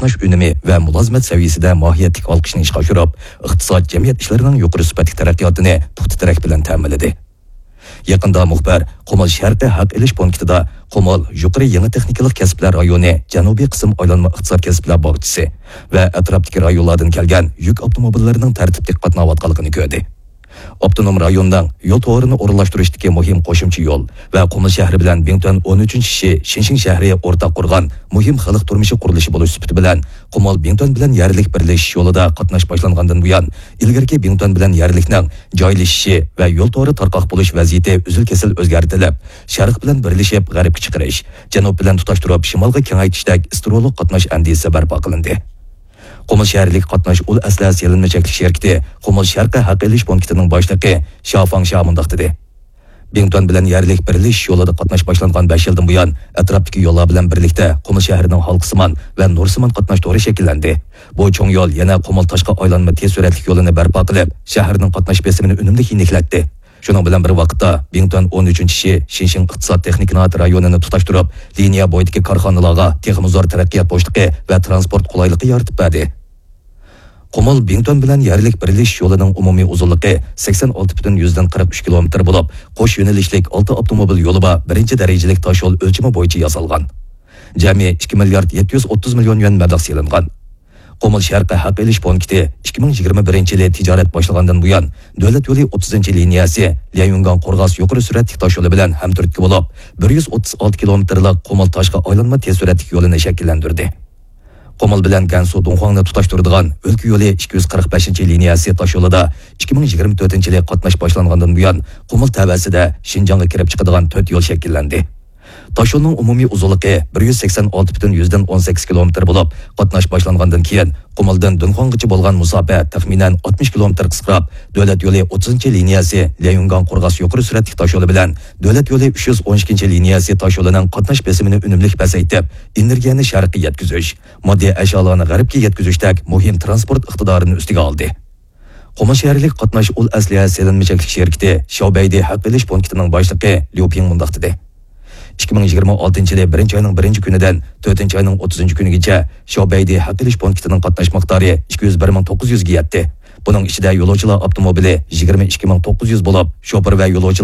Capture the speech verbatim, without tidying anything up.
قاتناش ئۈنۈمى ۋە مۇلازىمەت سەۋىيەسىدە ماھىيەتلىك ھالقىشنى ئىشقا ئاشۇرۇپ، ئىقتىساد، جەمئىيەت ئىشلىرىنىڭ يۇقىرى سۈپەتلىك تەرەققىياتىنى پۇختا تىرەك بىلەن تەمىنلىدى. يېقىندا مۇخبىر قۇمۇل شەرقىي ھەق ئېلىش پونكىتىدا قۇمۇل يۇقىرى يېڭى تېخنىكىلىق كەسىپلەر رايونى جەنۇبىي قىسىم ئايلانما ئىقتىساد كەسىپلەر باغچىسى ۋە ئەتراپتىكى رايونلاردىن كەلگەن يۈك ئاپتوموبىللىرىنىڭ تەرتىپلىك قاتناۋاتقانلىقىنى كۆردى. ئاپتونوم رايوننىڭ يول تورىنى ئورۇنلاشتۇرۇشتىكى مۇھىم قوشۇمچە يول ۋە قۇمۇل شەھىرى بىلەن بىڭتۈەن ئون ئۈچىنچى شى شىنشىڭ شەھىرى ئورتاق قۇرغان مۇھىم خەلق تۇرمۇشى قۇرۇلۇشى بولۇش سۈپىتى بىلەن، قۇمۇل بىڭتۈەن بىلەن يەرلىك بىرلىشىش يولىدا قاتناش باشلانغاندىن بۇيان، ئىلگىرىكى بىڭتۈەن بىلەن يەرلىكنىڭ جايلىشىشى ۋە يول تورى تارقاق بولۇش ۋەزىيىتى ئۈزۈل-كېسىل ئۆزگەرتىلىپ، شەرق بىلەن بىرلىشىپ غەربكە چىقىرىش، جەنۇب بىلەن تۇتاشتۇرۇپ شىمالغا كېڭەيتىشتەك ئىسترولۇق قاتناش ئەندىزىسى بەرپا قىلىندى. قۇمۇل شەھەرلىك قاتناش ئۇل ئەسلىھە سېلىنما چەكلىك شىركىتى قۇمۇل شەرقىي ھەق ئېلىش پونكىتىنىڭ باشلىقى شياۋ فاڭشيا مۇنداق دېدى: بىڭتۈەن بىلەن يەرلىك بىرلىشىش يولىدا قاتناش باشلانغان بەش يىلدىن بۇيان، ئەتراپتىكى يوللار بىلەن بىرلىكتە قۇمۇل شەھىرىنىڭ ھالقىسىمان ۋە نۇرسىمان قاتناش تورى شەكىللەندى. بۇ چوڭ يول يەنە قۇمۇل تاشقى ئايلانما تېز سۈرئەتلىك يولىنى بەرپا قىلىپ، شەھەرنىڭ قاتناش بېسىمىنى ئۈنۈملۈك يېنىكلەتتى. شۇنىڭ بىلەن بىر ۋاقىتتا، بىڭتۈەن ئون ئۈچىنچى شى شىنشىڭ ئىقتىساد تېخنىكا ئىناۋەت رايونىنى تۇتاشتۇرۇپ، لىنىيە بويىدىكى كارخانىلارغا تېخىمۇ زور تەرەققىيات بوشلۇقى ۋە تىرانسپورت قولايلىقى يارىتىپ بەردى. قۇمۇل بىڭتۈەن بىلەن يەرلىك بىرلىشىش يولىنىڭ ئومۇمىي ئۇزۇنلۇقى سەكسەن ئالتە پۈتۈن يۈزدىن قىرىق ئۈچ كىلومېتىر بولۇپ، قوش يۆنىلىشلىك ئالتە ئاپتوموبىل يولى بار بىرىنچى دەرىجىلىك تاش يول ئۆلچىمى بويىچە ياسالغان. جەمئىي ئىككى مىليارد يەتتە يۈز ئوتتۇز مىليون يۈەن مەبلەغ سېلىنغان. قۇمۇل شەرقىي ھەق ئېلىش پونكىتى ئىككى مىڭ يىگىرمە بىرىنچى يىلى تىجارەت باشلىغاندىن بۇيان، دۆلەت يولى ئوتتۇزىنچى لىنىيەسى ليەنيۈنگاڭ قورغاس يۇقىرى سۈرئەتلىك تاش يولى بىلەن ھەمتۈرتكە بولۇپ، بىر يۈز ئوتتۇز ئالتە كىلومېتىرلىق قۇمۇل تاشقى ئايلانما تېز سۈرئەتلىك يولىنى شەكىللەندۈردى. قۇمۇل بىلەن گەنسۇ دۇڭخۇاڭنى تۇتاشتۇرىدىغان ئۆلكە يولى ئىككى يۈز قىرىق بەشىنچى لىنىيەسى تاش يولىدا ئىككى مىڭ يىگىرمە تۆتىنچى يىلى قاتناش باشلانغاندىن بۇيان، قۇمۇل تەۋەسىدە شىنجاڭغا كىرىپ چىقىدىغان تۆت يول شەكىللەندى. تاش يولنىڭ ئومۇمىي ئۇزۇنلۇقى بىر يۈز سەكسەن ئالتە پۈتۈن يۈزدىن ئون سەككىز كىلومېتىر بولۇپ، قاتناش باشلانغاندىن كېيىن، قۇمۇلدىن دۇنخۇاڭغىچە بولغان مۇساپە تەخمىنەن ئاتمىش كىلومېتىر قىسقىراپ، دۆلەت يولى ئوتتۇزىنچى لىنىيەسى ليەنيۈنگاڭ قورغاس يۇقىرى سۈرئەتلىك تاش يولى بىلەن دۆلەت يولى ئۈچ يۈز ئون ئىككىنچى لىنىيەسى تاش يولىنىڭ قاتناش بېسىمىنى ئۈنۈملۈك پەسەيتىپ، ئېنېرگىيەنى شەرققە يەتكۈزۈش، ماددىي ئەشيالارنى غەربكە يەتكۈزۈشتەك مۇھىم تىرانسپورت ئىقتىدارىنى ئۈستىگە ئالدى. قۇمۇل شەھەرلىك قاتناش ئۇل ئەسلىھە سېلىنما چەكلىك شىركىتى شياۋبەيدى ھەق ئېلىش پونكىتىنىڭ باشلىقى ليۇ پىڭ مۇنداق دېدى: ئىككى مىڭ يىگىرمە ئالتىنچى يىلى بىرىنچى ئاينىڭ بىرىنچى كۈنىدىن تۆتىنچى ئاينىڭ ئوتتۇزىنچى كۈنىگىچە شياۋبەيدى ھەق ئېلىش پونكىتىنىڭ قاتناش مىقدارى ئىككى يۈز بىر مىڭ توققۇز يۈزگە يەتتى. بۇنىڭ ئىچىدە يولۇچىلار ئاپتوموبىلى يىگىرمە ئىككى مىڭ توققۇز يۈز بولۇپ، شوپۇر ۋە يولۇچى